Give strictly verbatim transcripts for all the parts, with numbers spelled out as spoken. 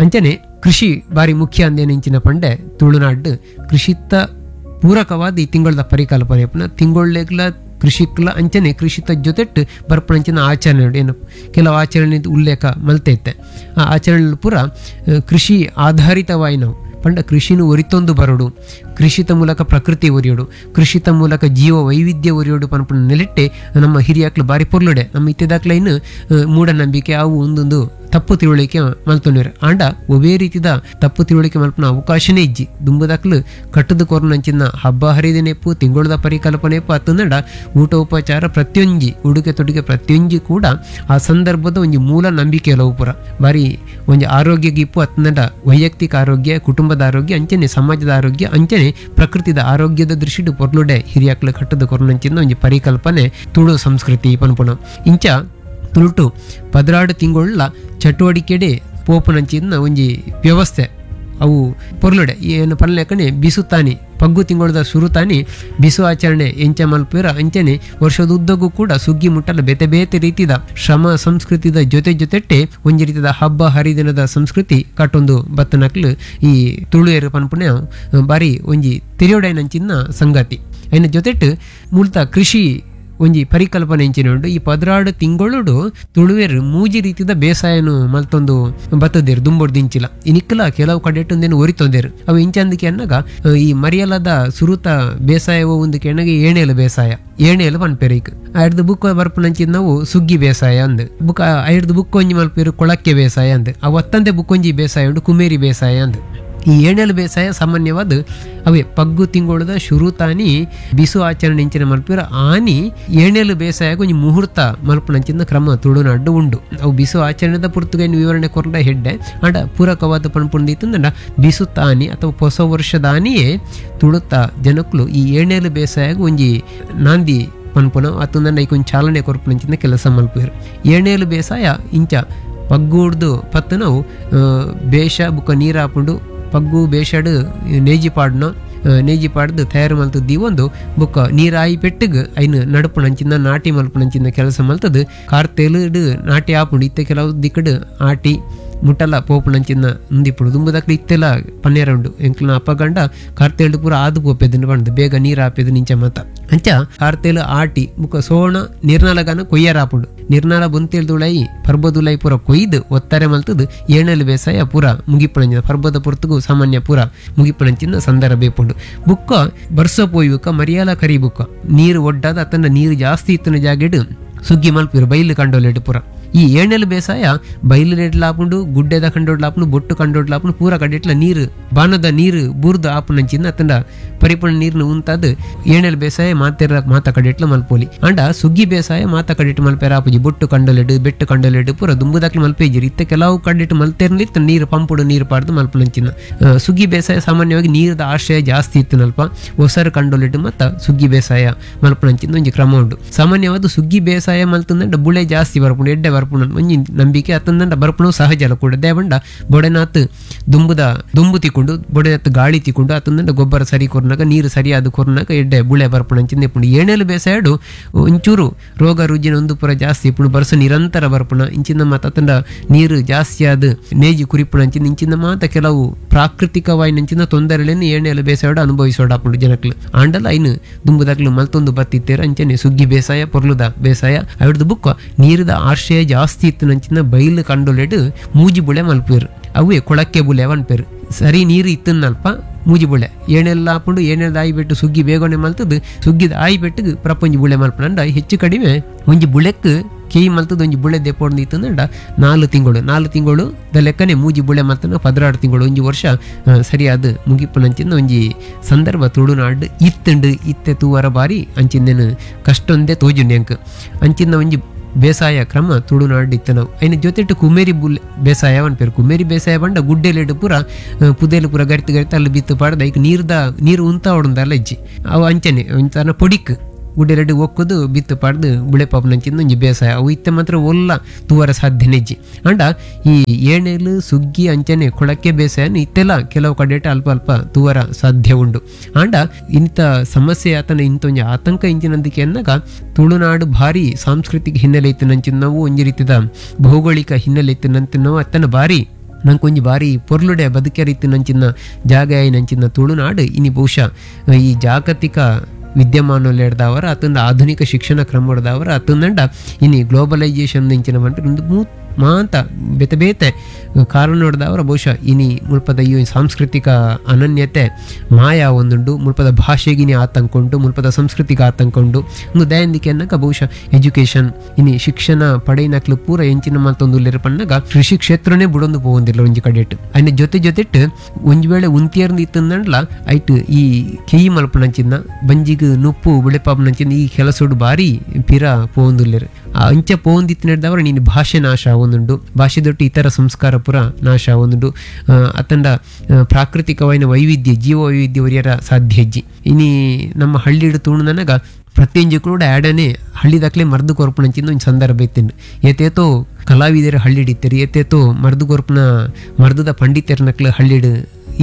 ಅಂಚನೆ ಕೃಷಿ ಬಾರಿ ಮುಖ್ಯ ಅಂದೇನಿಂಚಿನ ಪಂಡೆ ತುಳುನಾಡು ಕೃಷಿತ್ತ ಪೂರಕವಾದ ಈ ತಿಂಗಳದ ಪರಿಕಲ್ಪನೆ ಪುನಃ ತಿಂಗೊಳ್ಳೆಗ್ಲ ಕೃಷಿಕ್ಲ ಅಂಚನೆ ಕೃಷಿತ ಜೊತೆಟ್ಟು ಬರ್ಪಣಂಚಿನ ಆಚರಣೆ ಉಂಡು. ಏನು ಕೆಲವು ಆಚರಣೆ ಉಲ್ಲೇಖ ಮಲ್ತೈತೆ ಆ ಆಚರಣೆ ಪೂರ ಆ, ಕೃಷಿ ಆಧಾರಿತವಾಯಿನವು ಪಂಡ ಕೃಷಿನು ಒರಿತೊಂದು ಬರೋಡು, ಕೃಷಿತ ಮೂಲಕ ಪ್ರಕೃತಿ ಒರಿಯೋಡು, ಕೃಷಿತ ಮೂಲಕ ಜೀವ ವೈವಿಧ್ಯ ಒರಿಯೋಡು ಪನ್ಪುನ ನೆಲೆಟ್ಟೆ ನಮ್ಮ ಹಿರಿಯಾಕ್ಲು ಬಾರಿ ಪೊರ್ಲುಡೆ. ನಮ್ಮ ಇತ್ತೆದಾಕ್ಲ ಇನ್ನು ಆ, ಮೂಢನಂಬಿಕೆ ಅವು ಒಂದೊಂದು ತಪ್ಪು ತಿಳುವಳಿಕೆ ಮಲ್ತೊಂಡಿರು. ಆಂಡ ಒವೇ ರೀತಿದ ತಪ್ಪು ತಿಳುವಳಿಕೆ ಮಲ್ಪನ ಅವಕಾಶನೇ ಇಜ್ಜಿ. ದುಂಬುದಾಕ್ಲು ಕಟ್ಟದ ಕೊರ್ನಂಚಿನ ಹಬ್ಬ ಹರಿದಿನೆಪ್ಪು, ತಿಂಗಳದ ಪರಿಕಲ್ಪನೆಪ್ಪು ಅತ್ತಂದಡ ಊಟ ಉಪಚಾರ ಪ್ರತಿಯೊಂಜಿ ಉಡುಗೆ ತೊಡುಗೆ ಪ್ರತಿಯೊಂಜಿ ಕೂಡ ಆ ಸಂದರ್ಭದ ಒಂಜಿ ಮೂಲ ನಂಬಿಕೆ ಕೆಲವು ಪುರ ಬಾರಿ ಒಂಜಿ ಆರೋಗ್ಯ ಗಿಪ್ಪು ಅತ್ತಂದಡ ವೈಯಕ್ತಿಕ ಆರೋಗ್ಯ, ಕುಟುಂಬದ ಆರೋಗ್ಯ, ಅಂಚನೆ ಸಮಾಜದ ಆರೋಗ್ಯ, ಅಂಚನೆ ಪ್ರಕೃತಿದ ಆರೋಗ್ಯದ ದೃಷ್ಟಿಡು ಪೊರ್ಲುಡೆ ಹಿರಿಯಾಕ್ಲು ಕಟ್ಟದ ಕೊರ್ನಂಚಿನ ಒಂಜಿ ಪರಿಕಲ್ಪನೆ ತುಳು ಸಂಸ್ಕೃತಿ ಪನ್ಪುಣ. ಇಂಚ ತುಳುಟು ಪದ್ರಾಡು ತಿಂಗೊಳ್ಳ ಚಟುವಟಿಕೆಡೆ ಪೋಪುನಂಚಿನ ಒಂಜಿ ವ್ಯವಸ್ಥೆ ಅವು ಪೊರ್ಲುಡೆ. ಏನು ಪನ್ಲೆಕ್ಕನೆ ಬಿಸುತ್ತಾನಿ ಪಗ್ಗು ತಿಂಗಳದ ಸುರುತಾನಿ ಬಿಸು ಆಚರಣೆ ಎಂಚ ಮಲ್ಪುರ ಅಂಚನೆ ವರ್ಷದ ಉದ್ದಕ್ಕೂ ಕೂಡ ಸುಗ್ಗಿ ಮುಟ್ಟಲ ಬೇತೆ ಬೇತೆ ರೀತಿದ ಶ್ರಮ ಸಂಸ್ಕೃತಿದ ಜೊತೆ ಜೊತೆಟ್ಟೆ ಒಂಜಿ ರೀತಿದ ಹಬ್ಬ ಹರಿದಿನದ ಸಂಸ್ಕೃತಿ ಕಟ್ಟೊಂದು ಬತ್ತನಕ್ಲು ಈ ತುಳುಯರು ಪನ್ಪುನ ಬಾರಿ ಒಂಜಿ ತಿರಿಯೋಡೈನಂಚಿನ ಸಂಗತಿ. ಐನ ಜೊತೆಟ್ಟು ಮೂಲ್ತ ಕೃಷಿ ಒಂಜಿ ಪರಿಕಲ್ಪನೆ ಇಂಚಿನ ಉಂಡು. ಈ ಪದ್ರಾಡು ತಿಂಗಳೋಡು ತುಳುವೆರ್ ಮೂಜಿ ರೀತಿದ ಬೇಸಾಯನು ಮಲ್ತೊಂದು ಬತ್ತದೇರು ದುಂಬೊಡ್ದು ಇಂಚಿಲ ಇನಿಕ್ಕಲ ಕೆಲವು ಕಡೆಟು ಒಂದೇನು ಒರಿತೊಂದೇರು ಅವು ಇಂಚಂದಕ್ಕೆ ಅನ್ನಾಗ ಅಹ್, ಈ ಮರಿಯಲದ ಸುರುತ ಬೇಸಾಯ ಒಂದು ಕೆಣಗೆ ಏಣೇಲು ಬೇಸಾಯ ಏಣೇಲು ಪನ್ಪೇರು. ಈಗ ಐಡ್ದು ಬುಕ್ ಬರ್ಪುನಂಚಿನ ನಾವು ಸುಗ್ಗಿ ಬೇಸಾಯ ಅಂದ್ ಬುಕ್ ಐಡ್ದು ಬುಕ್ ಒಂಜಿ ಮಲ್ಪೇರು ಕೊಳಕ್ಕೆ ಬೇಸಾಯ ಅಂದ್ ಅವು ಅತ್ತಂದೆ ಬುಕ್ ಒಂಜಿ ಬೇಸಾಯ ಉಂಡು ಕುಮೇರಿ ಬೇಸಾಯ ಅಂದ್. ಈ ಏಣೇಲು ಬೇಸಾಯ ಸಾಮಾನ್ಯವಾದ ಅವೇ ಪಗ್ಗು ತಿಂಗಳದ ಶುರುತಾನಿ ಬಿಸು ಆಚರಣೆ ಇಂಚಿನ ಮಲ್ಪಿರ ಆನಿ ಏಣೇಲು ಬೇಸಾಯಕ್ಕೆ ಒಂಜಿ ಮುಹೂರ್ತ ಮಲ್ಪುನಂಚಿನ ಕ್ರಮ ತುಳುನಾಡು ಉಂಡು. ಅವು ಬಿಸು ಆಚರಣೆದ ಪುರ್ತುಗೈನ್ ವಿವರಣೆ ಕೊರಂಡ ಹೆಡ್ಡೆ ಅಂಡ ಪೂರಕವಾದ ಪನ್ಪುಂದಿತ್ತಂದ ಬಿಸು ತಾನಿ ಅಥವಾ ಹೊಸ ವರ್ಷದಾನಿಯೇ ತುಳುತ ಜನಕ್ಕಲು ಈ ಏಣೇಲು ಬೇಸಾಯಕ್ಕೆ ಒಂಜಿ ನಾಂದಿ ಪನ್ಪುನ ಅತ್ತಂದ ಐಕೊಂಜಿ ಚಾಲನೆ ಕೊರ್ಪುನಂಚಿನ ಕೆಲಸ ಮಲ್ಪುವೆರ್. ಏಣೇಲು ಬೇಸಾಯ ಇಂಚ ಪಗ್ಗೂಡ್ದು ಪತ್ತು ನಾವು ಆ, ಬೇಷ ಬುಕ್ಕ ನೀರು ಹಾಪುಂಡು ಪಗ್ಗು ಬೇಷಡ್ ನೇಜಿ ಪಾಡ್ನ ಆ, ನೇಜಿ ಪಾಡ್ದು ತಯಾರು ಮಲ್ತದ್ದು ದೀವೊಂದು ಬೊಕ್ಕ ನೀರಾಯಿ ಪೆಟ್ಟಿಗ್ ಐನು ನಡುಪುನಂಚಿನ ನಾಟಿ ಮಲ್ಪುನಂಚಿನ ಕೆಲಸ ಮಲ್ತದ್ದು ಕಾರ್ತೆಲುಡು ನಾಟಿ ಆಪುಂಡು. ಇತ್ತೆ ಕೆಲವು ದಿಕ್ಕಡು ಆಟಿ ಮುಟ್ಟಲ ಪೋಪುನಂಚಿನ ಉಂದಿಪ್ಪುಡು ದುಂಬುದಕ್ಲು ಇತ್ತೆಲ್ಲ ಪನ್ನೇರ ಉಂಡು. ಎಂಕ್ಲನ ಅಪ್ಪ ಗಂಡ ಕಾರ್ತೇಳು ಪೂರ ಆದು ಪೋಪೆದನ್ನು ಪಂಡ್ದು ಬೇಗ ನೀರು ಆಪೆದು ನಿಂಚ ಮತ ಅಂಚ ಕಾರ್ತೇಲು ಆಟಿ ಬುಕ್ಕ ಸೋಣ ನಿರ್ನಾಲಗಾನ ಕೊಯ್ಯರ ಆಪುಂಡು. ನಿರ್ನಾಲ ಬೊಂತೇಳ್ದುಳೈ ಪರ್ಬದುಲೈ ಪೂರ ಕೊಯ್ದು ಒತ್ತಾರೆ ಮಲ್ತದು ಏಣಲು ಬೇಸಾಯ ಪೂರ ಮುಗಿಪುಣಂಚಿನ ಪರ್ಬದ ಪೊರ್ತುಗು ಸಾಮಾನ್ಯ ಪೂರ ಮುಗಿಪುಣಂಚಿನ ಸಂದರ್ಭ ಇಪ್ಪುಂಡು. ಬುಕ್ಕ ಬರ್ಸ ಪೋಯುವಕ್ಕ ಮರಿಯಾಲ ಕರಿ ಬುಕ್ಕ ನೀರು ಒಡ್ಡಾದ ಅತನ ನೀರು ಜಾಸ್ತಿ ಇತ್ತಿನ ಜಾಗೆಡು ಸುಗ್ಗಿ ಮಲ್ಪಿರು ಬೈಲು ಕಂಡೋಲೆಡು ಪೂರ. ಈ ಏಣೆಲು ಬೇಸಾಯ ಬೈಲು ನೆಡ್ಲಾಪುಂಡು, ಗುಡ್ಡೆದ ಕಂಡೋಡ್ಲಾಪುಂಡು, ಬೊಟ್ಟು ಕಂಡೋಡ್ಲಾಪುಂಡು, ಪೂರ ಕಡೆಟ್ಲ ನೀರು ಬಾಣದ ನೀರು ಬೂರ್ದು ಆಪುನಂಚಿನ ಅತಂಡ ಪರಿಪೂರ್ಣ ನೀರ್ನ ಉಂತಾದ ಏಣೆಲು ಬೇಸಾಯ ಮಾತೆರ ಮಾತ ಕಡೆಟ್ಲ ಮಲ್ಪೋಲಿ. ಅಂಡ ಸುಗ್ಗಿ ಬೇಸಾಯ ಮಾತ ಕಡೆಟ್ ಮಲ್ಪೆರ ಆಪುಜಿ. ಬೊಟ್ಟು ಕಂಡೋಲೆಡು ಬೆಟ್ಟು ಕಂಡೋಲೆಡು ಪೂರ ದುಂಬುದಾಕ್ಲು ಮಲ್ಪೇಜಿರಿ. ಇತ್ತ ಕೆಲವು ಕಡೆಟ್ ಮಲ್ತೇರ್ಲಿ ಇತ್ತ ನೀರು ಪಂಪುಡು ನೀರು ಪಾಡ್ದು ಮಲ್ಪುನಂಚಿನ. ಆ, ಸುಗ್ಗಿ ಬೇಸಾಯ ಸಾಮಾನ್ಯವಾಗಿ ನೀರದ ಆಶ್ರಯ ಜಾಸ್ತಿ ಇತ್ತನಲ್ಪ ಒಸರು ಕಂಡೋಲೆಡು ಮತ್ತ ಸುಗ್ಗಿ ಬೇಸಾಯ ಮಲ್ಪುನಂಚಿನ ಒಂಜಿ ಕ್ರಮ ಉಂಡು. ಸಾಮಾನ್ಯವಾದ ಸುಗ್ಗಿ ಬೇಸಾಯ ಮಲ್ತಂದಂಡ ಬುಳೆ ಜಾಸ್ತಿ ಬರ್ಪುಂಡು, ಎಡ್ಡೆ ಬರ್ಪುಂಡು ಒಂಜಿ ನಂಬಿಕೆ ಅತ್ತಂದಂಡ ಬರ್ಪುಣು ಸಹಜ ಅಲ್ಲ ಕೂಡ. ದೇವಂಡ ಬೊಡೆನಾತ್ ದುಂಬುದ ದುಂಬು ತಿಕ್ಕೊಂಡು ಬೊಡೆನಾತ್ ಗಾಳಿ ತಿಕ್ಕೊಂಡು ಅತ್ತಂದಂಡ ಗೊಬ್ಬರ ಸರಿ ಕೊರ್ನಾಗ ನೀರು ಸರಿಯಾದ ಕೊರ್ನಾಗ ಎಡ್ಡೆ ಬುಳೆ ಬರ್ಪುಣಂಚಿನ ಇಪ್ಪುಂಡು. ಏಣೇಲು ಬೇಸಾಯಡು ಒಂಚೂರು ರೋಗ ರುಜಿನ ಒಂದು ಪೂರ ಜಾಸ್ತಿ ಇಪ್ಪುಂಡು, ಬರ್ಸ ನಿರಂತರ ಬರ್ಪುಣ ಇಂಚಿನ ಮಾತ ಅತ್ತಂಡ ನೀರು ಜಾಸ್ತಿ ಆದ ನೇಜಿ ಕುರಿಪುಣಂಚಿನ ಇಂಚಿನ ಮಾತ ಕೆಲವು ಪ್ರಾಕೃತಿಕವಾಯಿನಂಚಿನ ತೊಂದರೆಗಳನ್ನು ಏಣೇಲು ಬೇಸಾಯಡು ಅನುಭವಿಸೋಡಾಪುಂಡು ಜನಕ್ಲು. ಆಂಡಲ ಐನು ದುಂಬುದಾಕ್ಲು ಮಲ್ತೊಂದು ಬತ್ತಿತ್ತೇರ ಅಂಚನೆ ಸುಗ್ಗಿ ಬೇಸಾಯ ಪೊರ್ಲುದ ಬೇಸಾಯ ಅವಿಡ್ದು ಬುಕ್ಕ ನೀರದ ಆಶ್ರಯ ಜಾಸ್ತಿ ಇತ್ತು ನಂಚಿನ ಬೈಲು ಕಂಡೊಲೆಡು ಮೂಜಿ ಬುಳೆ ಮಲ್ಪೇರು ಅವೇ ಕೊಳಕ್ಕೆ ಬುಳೆ ಪನ್ಪೇರು. ಸರಿ ನೀರು ಇತ್ತನ್ನಲ್ಪ ಮೂಜಿ ಬುಳೆ ಏನೆಲ್ಲ ಹಾಕೊಂಡು ಏನೆಲ್ಲ ಆಯಿ ಬೆಟ್ಟು ಸುಗ್ಗಿ ಬೇಗನೆ ಮಲ್ತದ್ದು ಸುಗ್ಗಿದ ಆಯಿ ಬೆಟ್ಟಿಗೆ ಪ್ರಪಂಚ ಬುಳೆ ಮಲ್ಪನಂಡ ಹೆಚ್ಚು ಕಡಿಮೆ ಒಂಜಿ ಬುಳೆಕ್ ಕೇಯಿ ಮಲ್ತದ ಒಂಜಿ ಬುಳೆ ದೆಪೊಂದು ಇತ್ತಂದಂಡ ನಾಲ್ಕು ತಿಂಗಳು ನಾಲ್ಕು ತಿಂಗಳು the ಲೆಕ್ಕನೆ ಮೂಜಿ ಬುಳೆ ಮಲ್ತನ ಪದ್ರಾಡು ತಿಂಗಳು ಒಂಜಿ ವರ್ಷ ಆ, ಸರಿಯಾದ ಮುಗಿಪುನಂಚಿನ ಒಂಜಿ ಸಂದರ್ಭ ತುಳುನಾಡು ಇತ್ತಂಡು ಇತ್ತೆ ತೂವರ ಬಾರಿ ಅಂಚಿಂದೇನು ಕಷ್ಟೊಂದೇ ತೋಜುಂಡು ಎಂಕ್ ಅಂಚಿನ ಒಂಜಿ ಬೇಸಾಯ ಕ್ರಮ ತುಳುನಾಡು ಇತ್ತು ನಾವು. ಐನ ಜೊತೆಟು ಕುಮೇರಿ ಬುಲ್ ಬೇಸಾಯ ಪೇರು. ಕುಮೇರಿ ಬೇಸಾಯ ಪಂಡ ಗುಡ್ಡೆಲೆಡು ಪೂರ ಆ, ಪುದೆಲು ಪೂರ ಗರಿತು ಗರಿತು ಅಲ್ಲಿ ಬಿತ್ತು ಪಾಡ್ದ ಐಕ್ ನೀರ್ದ ನೀರು ಉಂತ ಹೊಡಂದಲ್ಲ ಇಜ್ಜಿ ಅವು ಅಂಚನೆ ಒಂಥರ ಪೊಡಿಕ್ ಗುಡ್ಡೆಲೆಡು ಒಕ್ಕುದು ಬಿತ್ತು ಪಾಡ್ದು ಬುಳೆ ಪಾಪನಂಚಿಂದ ಒಂಜಿ ಬೇಸಾಯ ಅವು ಇತ್ತೆ ಮಾತ್ರ ಒಲ್ಲ ತೂವರ ಸಾಧ್ಯನೇ ಇಜ್ಜಿ. ಅಂಡ ಈ ಏಣೇಲು ಸುಗ್ಗಿ ಅಂಚನೆ ಕೊಳಕ್ಕೆ ಬೇಸಾಯನ ಇತ್ತೆಲ್ಲ ಕೆಲವು ಕಡೆಟ ಅಲ್ಪ ಅಲ್ಪ ತೂವರ ಸಾಧ್ಯ ಉಂಡು. ಅಂಡ ಇಂಥ ಸಮಸ್ಯೆ ಆತನ ಇಂಥ ಒಂಜಿ ಆತಂಕ ಇಂಚಿನಂದಿಕೆ ಅನ್ನಾಗ ತುಳುನಾಡು ಭಾರಿ ಸಾಂಸ್ಕೃತಿಕ ಹಿನ್ನೆಲೆ ಇತ್ತು ನಂಚಿನ ನಾವು ಒಂಜಿ ರೀತಿದ ಭೌಗೋಳಿಕ ಹಿನ್ನೆಲೆ ಇತ್ತು ನಂತ ನಾವು ಅತ್ತನ ಭಾರಿ ನಂಕೊಂಜಿ ಬಾರಿ ಪೊರ್ಲುಡೆ ಬದುಕೆರಿತ್ತಿನಂಚಿನ ಜಾಗ ಆಯಿನಂಚಿನ ತುಳುನಾಡು ಇನಿ ಬಹುಶಃ ಈ ಜಾಗತಿಕ ವಿದ್ಯಮಾನಲೆಡ್ದಾವರ ಅತ್ತಂದ ಆಧುನಿಕ ಶಿಕ್ಷಣ ಕ್ರಮಡ್ದಾವರ ಅತ್ತಂದಂಡ ಇನಿ ಗ್ಲೋಬಲೈಸೇಷನ್ ಇಂಚಿನ ಮಂಟ ಒಂದು ಮೂ ಮಾಂತ ಬೇತೆ ಬೇತೆ ಕಾರಣಡ್ದಾವರ ಬಹುಶಃ ಇನಿ ಮುಲ್ಪದ ಈ ಸಾಂಸ್ಕೃತಿಕ ಅನನ್ಯತೆ ಮಾಯ ಒಂದುಂಡು ಮುಲ್ಪದ ಭಾಷೆಗಿನಿ ಆತಂಕ ಉಂಟು ಮುಲ್ಪದ ಸಂಸ್ಕೃತಿಗೆ ಆತಂಕ ಉಂಟು ಒಂದು ದಯಂದಿಕೆ ಅನ್ನಕ ಬಹುಶಃ ಎಜುಕೇಶನ್ ಇನಿ ಶಿಕ್ಷಣ ಪಡೆಯಿನಕ್ಲು ಪೂರ ಎಂಚಿನ ಮಲ್ತೊಂದು ಪಣ್ಣಗ ಕೃಷಿ ಕ್ಷೇತ್ರನೇ ಬುಡೊಂದು ಪೋವೊಂದಿಲ್ಲ ಒಂಜಿ ಕಡೆಟ್ ಅಯ್ನ ಜೊತೆ ಜೊತೆಟ್ ಒಂಜಿ ವೇಳೆ ಉಂತಿಯರ್ಂದು ಇತ್ತಂದಂಡ್ಲ ಐಟ್ ಈ ಕೆಯಿ ಮಲ್ಪನಂಚಿನ ಬಂಜಿಗ್ ನುಪ್ಪು ಬಿಳೆಪಾಪನಂಚಿನ ಈ ಕೆಲಸೋಡು ಬಾರಿ ಪಿರ ಪೋವೊಂದುಲ್ಲೆರ್ ಆ ಅಂಚ ಪೋವೊಂದಿತ್ತಿನದವರ ನೀನು ಭಾಷೆ ನಾಶ ಆವೊಂದುಂಡು ಭಾಷೆ ದೊಟ್ಟು ಇತರ ಸಂಸ್ಕಾರ ಪೂರ ನಾಶ ಆವೊಂದುಂಡು ಆ, ಅತ್ತಂಡ ಆ, ಪ್ರಾಕೃತಿಕವಾಯಿನ ವೈವಿಧ್ಯ ಜೀವ ವೈವಿಧ್ಯ ಒರಿಯರ ಸಾಧ್ಯ ಹೆಜ್ಜಿ ಇನಿ ನಮ್ಮ ಹಳ್ಳಿಡು ತೂಣುನನಗ ಪ್ರತಿಯೊಂಜಿ ಕೂಡ ಆಡನೆ ಹಳ್ಳಿದಾಕ್ಲೆ ಮರ್ದು ಕೊರ್ಪುನಂಚಿನ ಒಂಜಿ ಸಂದರ್ಭ ಇತ್ತಿಂಡು ಏತೇತೋ ಕಲಾವಿದರು ಹಳ್ಳಿಡಿತ್ತೆರು ಏತೇತೋ ಮರ್ದು ಕೊರ್ಪುನ ಮರ್ದದ ಪಂಡಿತರ್ನಕ್ಲು ಹಳ್ಳಿಡು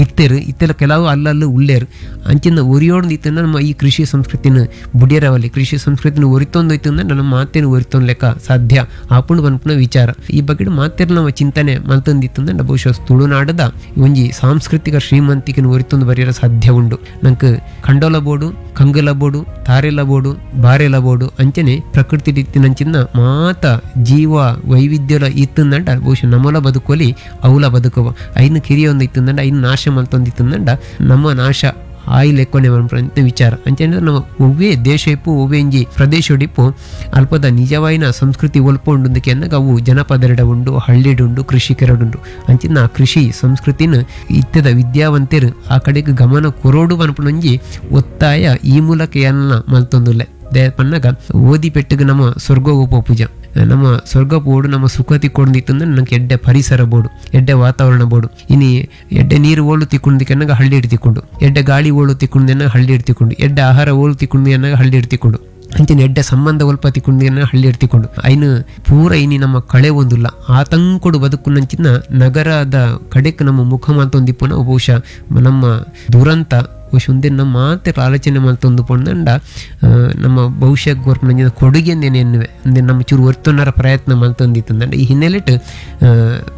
ಇತ್ತೆರು ಇತ್ತೆಲ್ಲ ಕೆಲವು ಅಲ್ಲಲ್ಲೂ ಉಳ್ಳೇರು ಅಂಚಿನ ಒರಿಯೋಡ್ದು ಇತ್ತಂದ್ರೆ ನಮ್ಮ ಈ ಕೃಷಿ ಸಂಸ್ಕೃತಿನ ಬುಡಿಯರವಲ್ಲಿ ಕೃಷಿ ಸಂಸ್ಕೃತಿನ ಒರಿತೊಂದು ಇತ್ತಂದ್ರೆ ನಮ್ಮ ಮಾತೇನು ಒರಿತೊಂದು ಲೆಕ್ಕ ಸಾಧ್ಯ ಆಪುಂಡು ಪನ್ಪುನ ವಿಚಾರ ಈ ಬಗ್ಗೆ ಮಾತೇರು ನಮ್ಮ ಚಿಂತನೆ ಮಲ್ತೊಂದಿತ್ತಂದ್ರೆ ಬಹುಶಃ ತುಳುನಾಡದ ಒಂಜಿ ಸಾಂಸ್ಕೃತಿಕ ಶ್ರೀಮಂತಿಕೆನ ಒರಿತೊಂದು ಬರೆಯರ ಸಾಧ್ಯ ಉಂಡು ನಂಗೆ ಖಂಡೋಲ ಬೋಡು ಕಂಗಲ ಬೋಡು ತಾರೆಲ ಬೋಡು ಬಾರೆಲ ಬೋಡು ಅಂಚನೆ ಪ್ರಕೃತಿ ಇತ್ತಿನಂಚಿನ ಮಾತ ಜೀವ ವೈವಿಧ್ಯಲ ಇತ್ತಂದಂಡ ಬಹುಶಃ ನಮ್ಮಲ ಬದುಕೋಲಿ ಅವಲ ಬದುಕುವ ಐನು ಕಿರಿಯ ಒಂದು ಇತ್ತಂದಂಡ ಐನು ನಾಶ ಮಲ್ತೊಂದಿತ್ತಂದಂಡ ನಮ್ಮ ನಾಶ ಆಯಿ ಲೆಕ್ಕೊನೆ ಅಂತ ವಿಚಾರ ಅಂಚನೆ ನಮ್ಮ ಒವ್ವೇ ದೇಶ ಇಪ್ಪು ಒವ್ವೇ ಇಂಜಿ ಪ್ರದೇಶಡಿಪ್ಪು ಅಲ್ಪದ ನಿಜವಾಯಿನ ಸಂಸ್ಕೃತಿ ಒಲ್ಪ ಉಂಡು ಅನ್ನಗ ಅವು ಜನಪದರೆಡ ಉಂಡು ಹಳ್ಳಿಡುಂಡು ಕೃಷಿಕರಡುಂಡು ಅಂಚಿನ ಆ ಕೃಷಿ ಸಂಸ್ಕೃತಿನ ಇತ್ತದ ವಿದ್ಯಾವಂತರು ಆ ಕಡೆಗೆ ಗಮನ ಕೊರೋಡು ಪನ್ಪುನೊಂಜಿ ಒತ್ತಾಯ ಈ ಮೂಲಕ ಏನ ಮಲ್ತೊಂದುಲ್ಲೆ they ಪನ್ನಗ ಓದಿ ಪೆಟ್ಟಿಗೆ ನಮ್ಮ ಸ್ವರ್ಗ ಪೂಜ ನಮ್ಮ ಸ್ವರ್ಗ ಬೋಡು ನಮ್ಮ ಸುಖ ತಿಕ್ಕೊಂಡಿತ್ತಂದ್ರೆ ನಂಗೆ ಎಡ್ಡೆ ಪರಿಸರ ಬೋಡು ಎಡ್ಡೆ ವಾತಾವರಣ ಬೋಡು ಇನಿ ಎಡ್ಡೆ ನೀರು ಓಳು ತಿಕ್ಕೊಂಡಿದ್ದಕ್ಕೆ ಹಳ್ಳಿ ಹಿಡ್ತಿಕೊಂಡು ಎಡ್ಡೆ ಗಾಳಿ ಓಳು ತಿಕ್ಕೊಂಡೆನ ಹಳ್ಳಿ ಹಿಡ್ತಿಕೊಂಡು ಎಡ್ಡೆ ಆಹಾರ ಓಳು ತಿಕ್ಕೊಂಡು ಹಳ್ಳಿ ಹಿಡ್ತಿಕೊಂಡು ಅಂಚಿನ ಎಡ್ಡೆ ಸಂಬಂಧ ಒಲ್ಪ ತಿಕ್ಕೊಂಡು ಹಳ್ಳಿ ಹಿಡ್ತಿಕೊಂಡು ಐನು ಪೂರ ಇನಿ ನಮ್ಮ ಕಳೆ ಒಂದುಲ್ಲ ಆತಂಕೊಡು ಬದುಕುನಂಚಿನ ನಗರದ ಕಡೆಕ್ ನಮ್ಮ ಮುಖ ಮಾತೊಂದಿಪ್ಪುನ ಬಹುಶಃ ನಮ್ಮ ದುರಂತ ಬಹುಶಃ ಒಂದೇ ನಮ್ಮ ಮಾತ್ರ ಆಲೋಚನೆ ಮಲ್ತೊಂದು ಪೊಂದಂಡ ಆ, ನಮ್ಮ ಭವಿಷ್ಯ ಗೋರ್ಪುನಂಚಿನ ಕೊಡುಗೆ ಎನ್ನುವೆ ಅಂದ್ರೆ ನಮ್ಮ ಚೂರು ಒರ್ತೊನ್ನರ ಪ್ರಯತ್ನ ಮಲ್ತೊಂದಿತ್ತಂದಂಡ ಈ ಹಿನ್ನೆಲೆಟ್ ಆ,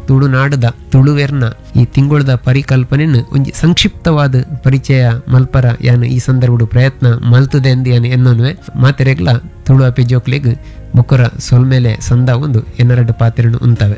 ತುಳುನಾಡದ ತುಳುವೆರ್ನ ಈ ತಿಂಗಳದ ಪರಿಕಲ್ಪನೆನ ಒಂಜಿ ಸಂಕ್ಷಿಪ್ತವಾದ ಪರಿಚಯ ಮಲ್ಪರ ಯಾನು ಈ ಸಂದರ್ಭಡು ಪ್ರಯತ್ನ ಮಲ್ತದೆ ಎಂದು ಯಾನು ಎನ್ನೋನುವೆ ಮಾತೆರೆಗ್ಲ ತುಳು ಅಪೆ ಜೋಕ್ಲೆಗ್ ಬೊಕ್ಕರ ಸೊಲ್ಮೇಲೆ ಸಂದ ಒಂದು ಎನ್ನರಡು ಪಾತ್ರೆನು ಉಂತವೆ.